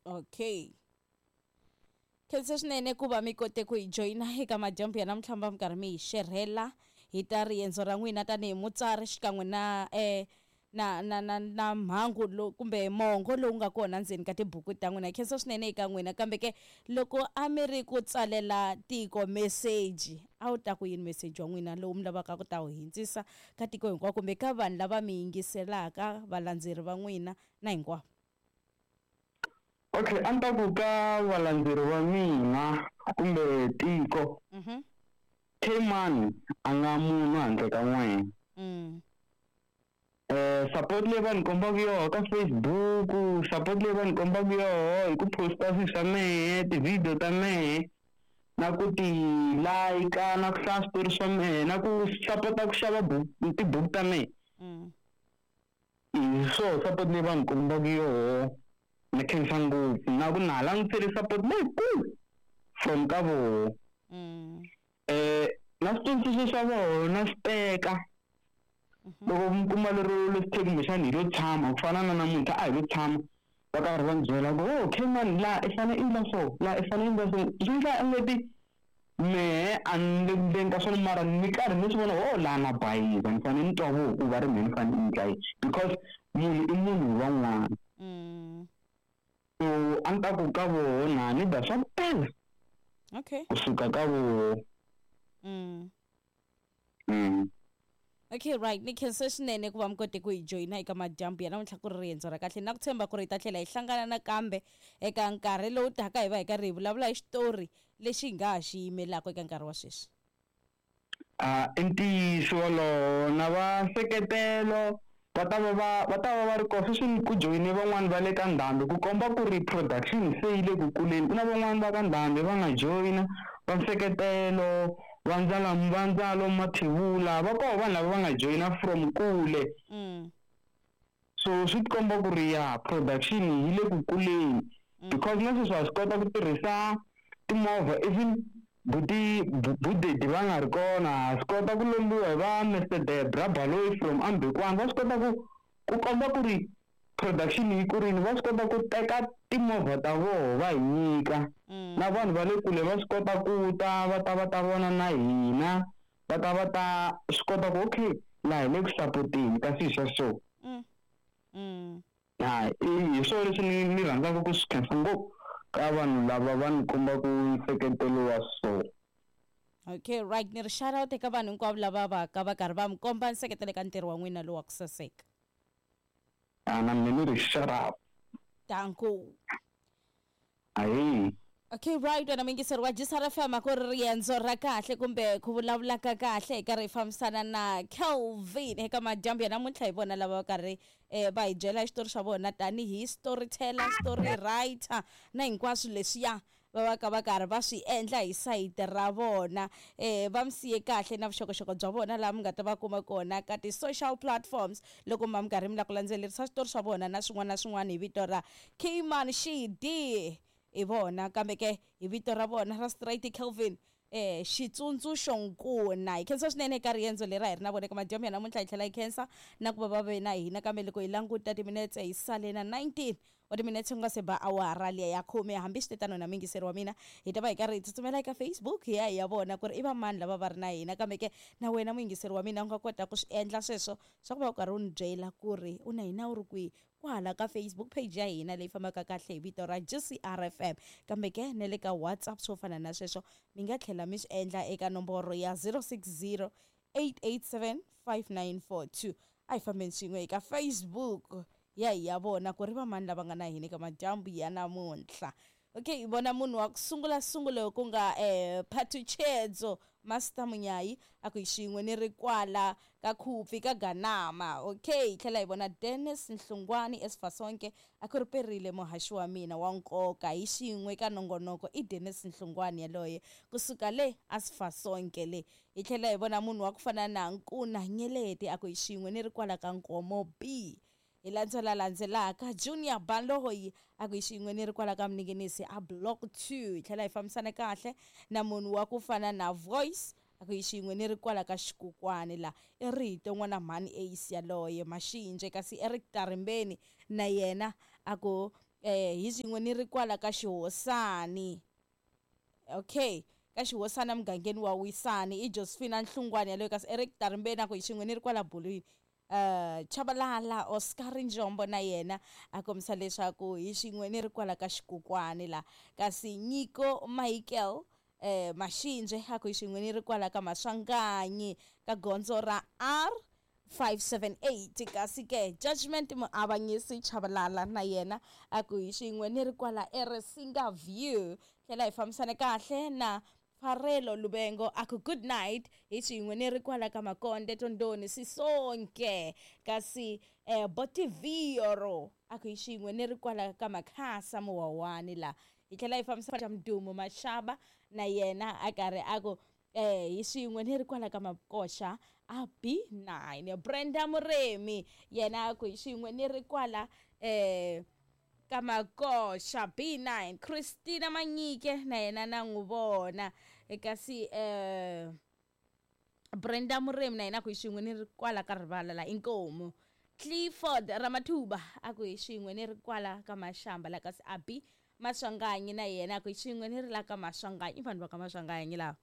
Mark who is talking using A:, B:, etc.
A: Okay, khensa swinene ku va mi kote ku hi joyina eka madyambu ya namuntlha, mi va mi karhi mi hi xerhela hi ta riendzo ra n'wina tanihi mutsari xikan'we na na mhangu lowu kumbe mongo lowu nga kona ndzeni ka tibuku ta n'wina. Khensa swinene eka n'wina. Kambe ke loko a mi ri ku tsalela tiko meseji, a wu ta ku yini meseji wa n'wina lowu mi lavaka ku ta wu hindzisa ka tiko hinkwako kumbe ka vanhu lava mi yingiselaka, valandzeri va n'wina na hinkwavo?
B: Okay, a ni ta ku ka valandzeri va mina kumbe tiko, K-Man a nga munhu handle ka n'wina. Support leyi va ni kombaka yoho ka Facebook, support leyi va ni kombaka yoho hi ku posta swilo swa mehe, ti-video ta mehe, na ku ti like, na ku hlaya switori swa mehe, na ku sapota ku xava tibuku ta mehe. Hi swoho support leyi va ni kombaka yoho, ni khensa ngopfu, na ku na ha langutisele support leyikulu from ka voho. Na switsundzuxo swa vona na swi teka. Loko mi kuma lero leswi kumbexana hi lo tshama ku fana na namuntlha, a hi lo tshama va karhi va ni byela ku oh K-Man, laha i fanele i endla so, laha i fanele i endla so, swi endla engeti mehe a ni le ku endleni ka swona, mara ni karhi ni swi vona oh laha na bayiza, ni fanele ni twa voho ku va ri mehe ni fanele ni endla yini, because munhu i munhu hi van'wana. So a ni ta ku ka voho na ni da swa ku tala kusuka ka voho.
A: Okay, right, ni khensa swinene ku va mi kote ku hi joyina eka madyambu ya namuntlha, ku ri riendzo ra kahle, na ku tshemba ku ri hi ta tlhela hi hlangana nakambe eka nkarhi lowu taka, hi va hi karhi hi vulavula hi xitori lexi hi nga ha xi yimelaka eka nkarhi wa sweswi.
B: I ntiyiso wolowo, na va seketelo va ta va va va ta va va ri kona sweswi. Ku joyine van'wani va le ka ndhambi ku komba ku ri production se yi le ku kuleni. Ku na van'wani va ka ndhambi va nga joyina, va nseketelo va ndzala, va ndzalo mathevula, va koho vanhu lava va nga joyina from kule. So swi tikomba ku ri ya production yi le ku kuleni, because na sweswi ha swi kota ku tirhisa timovha, even buti budedi va nga ri kona, ha swi kota ku lombiwa hi va Mr Debra Baloyi from Ambekwana. Va swi kota ku komba ku ri production yi kurini, va swi kota ku teka timovha ta voho va hi nyika. Na vanhu va le kule va swi kota ku ta va ta va ta vona na hina, va ta va ta swi kota ku okay, laha hi le ku sapoteni ka swilo swa so. Ha, hi swona leswi ni rhandzaka ku swi khensa ngopfu ka vanhu lava va ni kombaka nseketelo wa so.
A: Okay, right, ni ri shout out eka vanhu hinkwavo lava va ka va karhi va mi komba nseketelo eka ntirho wa n'wina lowu wa ku saseka.
B: A na mina ni ri shout out.
A: Danko.
B: Ahi.
A: Okay, right, wena muyingiseri wa GCR FM, a ku ri riendzo ra kahle kumbe ku vulavula ka kahle hi karhi hi fambisana na Kelvin eka madyambu ya namuntlha. Hi vona lava va karhi va hi byela xitori xa vona tanihi storyteller, story writer na hinkwaswo leswiya va va ka va karhi va swi endla hi sayiti ra vona. Va mi siye kahle na vuxokoxoko bya vona laha mi nga ta va kuma kona ka ti-social platforms loko ma mi karhi mi lava ku landzelerisa switori swa vona na swin'wana na swin'wana hi vito ra K-Man Xidi hi vona, kambe ke hi vito ra vona ra straight Kelvin Xitsundzuxo Nkuna. Hi khensa swinene eka riendzo leri a hi ri na vona eka madyambu ya namuntlha, hi tlhela hi khensa na ku va va ve na hina. Kambe loko hi languta timinetse, hi sale na 19 wa timinetse ku nga se ba awara liya ya khume. Hambi swi tetano na muyingiseri wa mina, hi ta va hi karhi hi tsutsumela eka Facebook hi ya hi ya vona ku ri i va mani lava va ri na hina. Kambe ke na wena muyingiseri wa mina u nga kota ku swi endla sweswo swa ku va u karhi u ni byela ku ri u na hina u ri kwihi kwala ka Facebook page ya hina leyi fambaka kahle hi vito ra GCR FM, kambe ke na le ka WhatsApp swo fana na sweswo mi nga tlhela mi swi endla eka nomboro ya 060 887 5942. A hi fambeni swin'we eka Facebook ya hi ya vona ku ri va mani lava nga na hina eka madyambu ya namuntlha. Okay, hi vona munhu wa ku sungula sungula ku nga Phathutshedzo Master Munyayi, a ku hi xin'we ni ri kwala ka Khupfi ka Ganama. Okay, hi tlhela hi vona Dennis Nhlungwani Esifasonke, a ku ri perile muhaxi wa mina wa nkoka hi xin'we ka nongonoko, i Dennis Nhlungwani yaloye kusuka le Asifasonke le. Hi tlhela hi vona munhu wa ku fana na Nkuna Nyeleti, a ku hi xin'we ni ri kwala ka Nkomo B. Hi landzela landzelaka Junior Baloyi, a ku hi xin'we ni ri kwala ka Mninginisi a Block 2. Hi tlhela hi fambisana kahle na munhu wa ku fana na Voice, a ku hi xin'we ni ri kwala ka Xikukwani la, i rito n'wana mhani Ace yaloye Maxinje. Kasi Eric Tarimbeni na yena a ku Hi swin'we ni ri kwala ka Xihosani. Okay, ka Xihosana mugangeni wa Wisani i Josephina Nhlungwane yaloyo, kasi Eric Tarimbeni a ku hi xin'we ni ri kwala Bulwini. Chabalala Oscar Njombo na yena a kombisa leswaku hi xin'we ni ri kwala ka Xikukwani la, kasi Nyiko Michael Mashinje a ku hi xin'we ni ri kwala ka Maswanganyi ka gondzo ra R 578, kasi ke Judgment Muavanyisi Chabalala na yena a ku hi xin'we ni ri kwala eResinga View. Tlhela hi fambisana kahle na Farelo Lubengo a ku good night, hi xin'we ni ri kwala ka Makonde Tondoni Sisonke, kasi Botivioro a ku hi xin'we ni ri kwala ka Makhasa Muwawani la. Hi tlhela hi fambisana Mdumo Mashaba na yena a karhi a ku hi xin'we ni ri kwala ka Makoxa a B9. Brenda Muremi yena a ku hi xin'we ni ri kwala ka Makoxa B9. Christina Manyike na yena na n'wi vona, kasi Brenda Muremi na yena a ku hi xin'we ni ri kwala ka rivala la Inkomu. Clifford Ramathuba a ku hi xin'we ni ri kwala ka Mashamba la, kasi Abi Maswanganyi na yena a ku hi xin'we ni ri la ka Maswanganyi. I vanhu va ka Maswanganyi lava.